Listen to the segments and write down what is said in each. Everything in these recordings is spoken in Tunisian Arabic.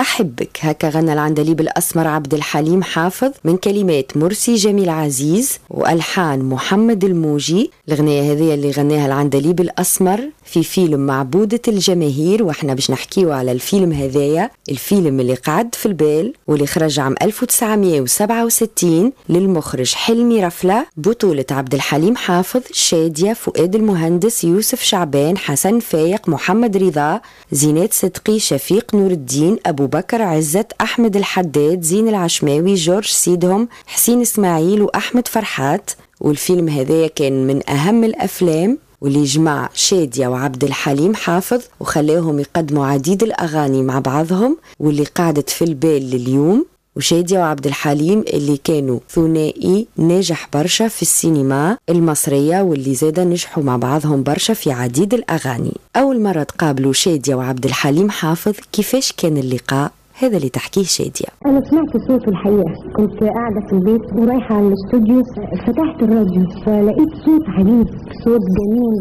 أحبك. هكا غنى العندليب الأسمر عبد الحليم حافظ من كلمات مرسي جميل عزيز وألحان محمد الموجي. الأغنية هذه اللي غناها العندليب الأسمر في فيلم معبودة الجماهير، واحنا باش نحكيو على الفيلم هذايا، الفيلم اللي قعد في البال واللي خرج عام 1967 للمخرج حلمي رفلة، بطولة عبد الحليم حافظ، شادية، فؤاد المهندس، يوسف شعبان، حسن فايق، محمد رضا، زينات صدقي، شفيق نور الدين، أبو بكر عزت، أحمد الحداد، زين العشماوي، جورج سيدهم، حسين إسماعيل، وأحمد فرحات. والفيلم هذايا كان من أهم الأفلام واللي جمع شادية وعبد الحليم حافظ وخلاهم يقدموا عديد الأغاني مع بعضهم واللي قعدت في البال لليوم. وشادية وعبد الحليم اللي كانوا ثنائي ناجح برشا في السينما المصرية واللي زاد نجحوا مع بعضهم برشا في عديد الأغاني. أول مرة تقابلوا شادية وعبد الحليم حافظ، كيفاش كان اللقاء؟ هذا اللي تحكيه شادية. أنا سمعت صوته الحقيقة، كنت قاعدة في البيت ورايحة على الاستوديو، فتحت الراديو فلقيت صوت عجيب، صوت جميل،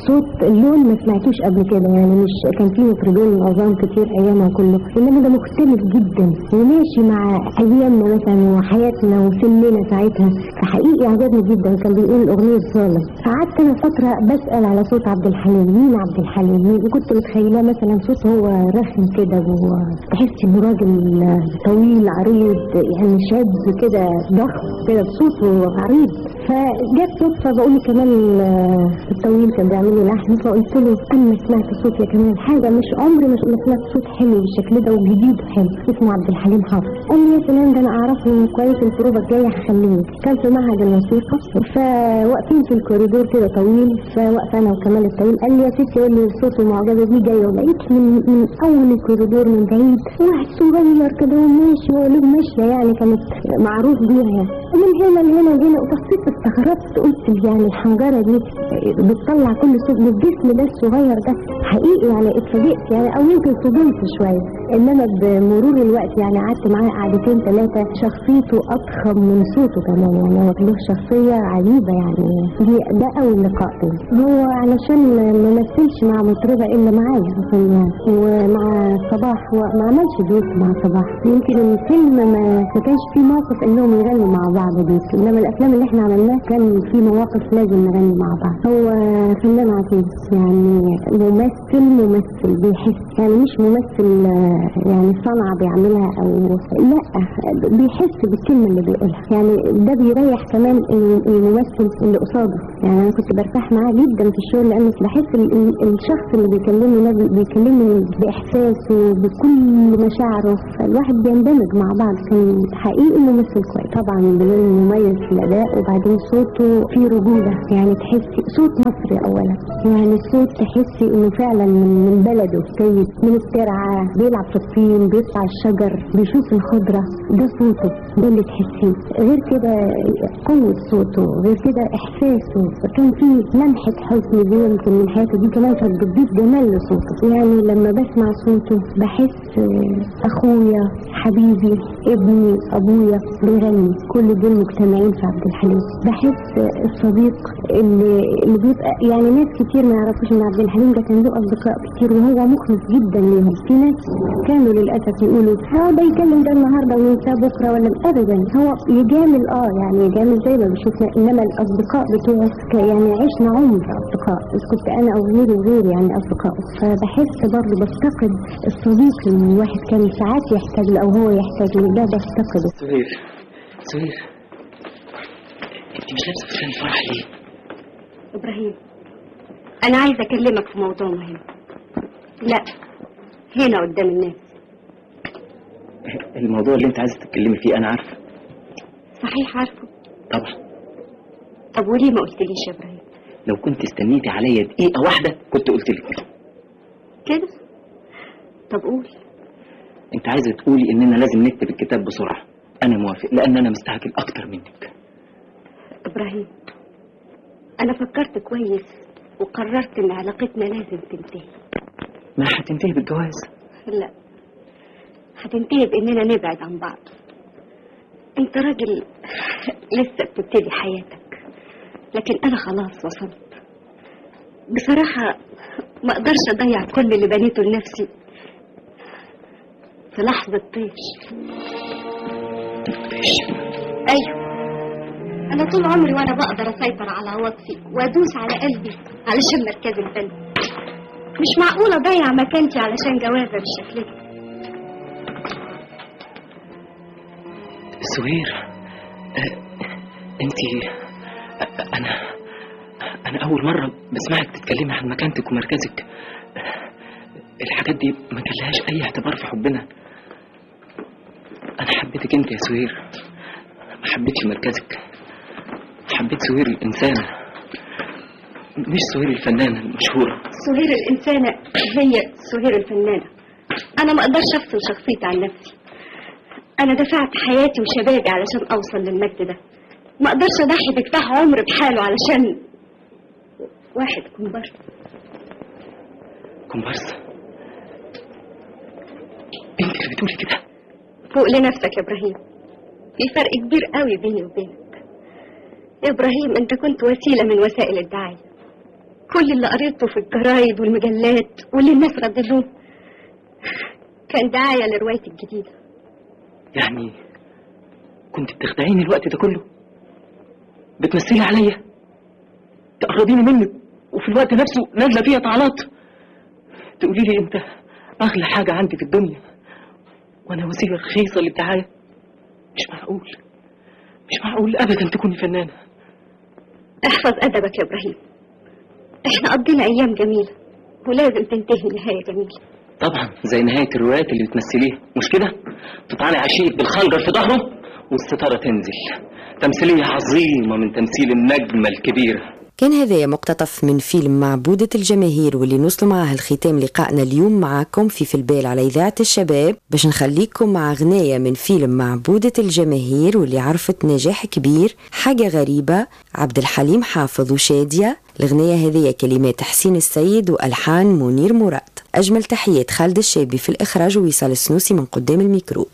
صوت اللون ما سمعتوش قبل كده، يعني مش كان فيه مطربين عظام كتير أيامها كله، إنما ده مختلف جدا وماشي مع أيامنا مثلا وحياتنا وسننا ساعتها، فحقيقي عجبني جدا. كان بيقول الأغنية الظالم. قعدت أنا فترة بسأل على صوت عبد الحليم، مين عبد الحليم مين؟ وكنت متخيلاه مثلا صوت هو رخم كده وتحس إنه راجل طويل عريض، يعني شاب كده ضخم كده بصوته عريض. فجت صدفة بقول كمال الطويل كان بيعمل لي لحن، فقلت له أنا سمعت صوت يا كمال، حاجة مش عمري ما سمعت صوت حلو بالشكل ده وجديد وحلو، اسمه عبد الحليم حافظ. قال لي يا سلام، ده أنا أعرفه كويس، البروفة الجاية هخليه. كان في معهد الموسيقى، فواقفين في الكوريدور كده طويل، فواقفة أنا وكمال الطويل. قال لي يا ستي قول لي الصوت المعجبة دي جاية. ولقيت من أول الكوريدور من بعيد واحد صغير كده وماشي وله ماشية، يعني كانت معروف بيها من هنا لهنا لهنا. وبصيت استغربت، قلت يعني الحنجرة دي بتطلع كل صوت من الجسم ده الصغير ده، حقيقي يعني اتفاجئت يعني، او يمكن صدمت شوية. انما بمرور الوقت يعني قعدت معاه قعدتين ثلاثة، شخصيته اضخم من صوته كمان، يعني هو له شخصية عجيبة يعني. دي ده اول لقاء تاني. هو علشان ما مثلش مع مطربه الا معايا يعني، ومع صباح، وما عملش دويت مع صباح. يمكن الفيلم ما كانش فيه موقف انهم يغنوا مع بعض دويت، انما الافلام اللي احنا عملناها كان في مواقف لازم نغني مع بعض. هو فنان عظيم يعني، ممثل بيحس، يعني مش ممثل يعني صنعة بيعملها او لا، بيحس بالكلمة اللي بيقولها، يعني ده بيريح كمان الممثل اللي قصاده. يعني انا كنت برتاح معاه جدا في الشغل، لان بحس الشخص اللي بيكلمني ده بيكلمني باحساسه بكل مشاعره، فالواحد بيندمج مع بعض. كان حقيقي ممثل كويس طبعا، بلون مميز في الاداء، وبعدين صوته فيه رجولة، يعني تحسي صوت مصري اولا، يعني الصوت تحسي انه فعلا من بلده، جاي من الترعة، بيلعب في الطين، بيطلع الشجر، بيشوف الخضرة، ده صوته، ده اللي تحسيه. غير كده قوة صوته، غير كده احساسه، كان فيه لمحة حزن دي يمكن من حياته دي كمان كانت بتضيف جمال لصوته. يعني لما بسمع صوته بحس اخويا، حبيبي، ابني، ابويا بيغني، كل دول مجتمعين في عبد الحليم. بحس الصديق اللي بيبقى، يعني ناس كتير ما يعرفوش ان عبد الحليم ده كان له اصدقاء كتير وهو مخلص جدا ليهم. في ناس كانوا للاسف يقولوا هو ده يكلم ده النهارده وينساه بكره، ولا ابدا، هو يجامل، يعني يجامل زي ما بشوفنا، انما الاصدقاء بتوعه يعني عشنا عمر اصدقاء، كنت انا او غيري وغيري يعني اصدقاء. فبحس برضه بفتقد الصديق اللي الواحد كان ساعات يحتاج له او هو يحتاج له، ده بفتقده. سهير سهير، انت مش لابسه فستان الفرح ليه؟ ابراهيم، انا عايزه اكلمك في موضوع مهم. لا هنا قدام الناس. الموضوع اللي انت عايزه تتكلمي فيه انا عارفه. صحيح عارفه؟ طبعا. طب وليه ما قلتليش يا ابراهيم؟ لو كنت استنيتي عليا دقيقة واحدة كنت قلت لك كده. طب قول. انت عايزه تقولي اننا لازم نكتب الكتاب بسرعة. انا موافق لان انا مستعجل اكتر منك. ابراهيم، انا فكرت كويس وقررت ان علاقتنا لازم تنتهي. ما هتنتهي بالجواز؟ لا، هتنتهي باننا نبعد عن بعض. انت راجل لسه بتبتدي حياتك، لكن انا خلاص وصلت. بصراحة ما اقدرش اضيع كل اللي بنيته لنفسي في لحظة طيش. طيش؟ ايوه، انا طول عمري وانا بقدر اسيطر على عواطفي وادوس على قلبي علشان مركز الفن. مش معقولة اضيع مكانتي علشان جوازه بالشكل ده. سهير، انت انا اول مرة بسمعك تتكلمي عن مكانتك ومركزك. الحاجات دي ما كان لهاش اي اعتبار في حبنا. انا حبيتك انت يا سهير، ما حبيتش مركزك. حبيت سهير الانسانة، مش سهير الفنانة المشهورة. سهير الانسانة هي سهير الفنانة. انا ما اقدرش افصل شخصيتي عن نفسي. انا دفعت حياتي وشبابي علشان اوصل للمجد ده. ما اقدرش اضحي بكفاح عمر بحاله علشان واحد كومبارس. كومبارس؟ انت اللي بتقولي كده؟ فوق لنفسك يا ابراهيم، في فرق كبير قوي بيني وبينك يا ابراهيم. انت كنت وسيلة من وسائل الدعاية. كل اللي قريته في الجرايد والمجلات واللي الناس رددوه كان دعاية لروايتي الجديدة. يعني كنت بتخدعيني الوقت ده كله؟ بتمثلي عليا، تقربيني منك، وفي الوقت نفسه نازله فيها طعنات، تقولي لي انت اغلى حاجة عندي في الدنيا وانا وسيلة رخيصة للدعايه. مش معقول، مش معقول ابدا تكوني فنانة. احفظ ادبك يا ابراهيم، احنا قضينا ايام جميلة ولازم تنتهي نهاية جميلة. طبعا زي نهاية الروايات اللي بتمثليها، مش كده؟ تطعني عشيقك بالخنجر في ظهره والستاره تنزل. تمثيلية عظيمة من تمثيل النجمة الكبيرة. كان هذا مقتطف من فيلم معبودة الجماهير، واللي نوصلوا معاه الختام لقائنا اليوم معاكم في البال على إذاعة الشباب، باش نخليكم مع غناية من فيلم معبودة الجماهير واللي عرفت نجاح كبير، حاجة غريبة، عبد الحليم حافظ وشادية. الغناية هذه كلمات حسين السيد وألحان منير مراد. أجمل تحيات خالد الشابي في الإخراج ووصال السنوسي من قدام الميكرو.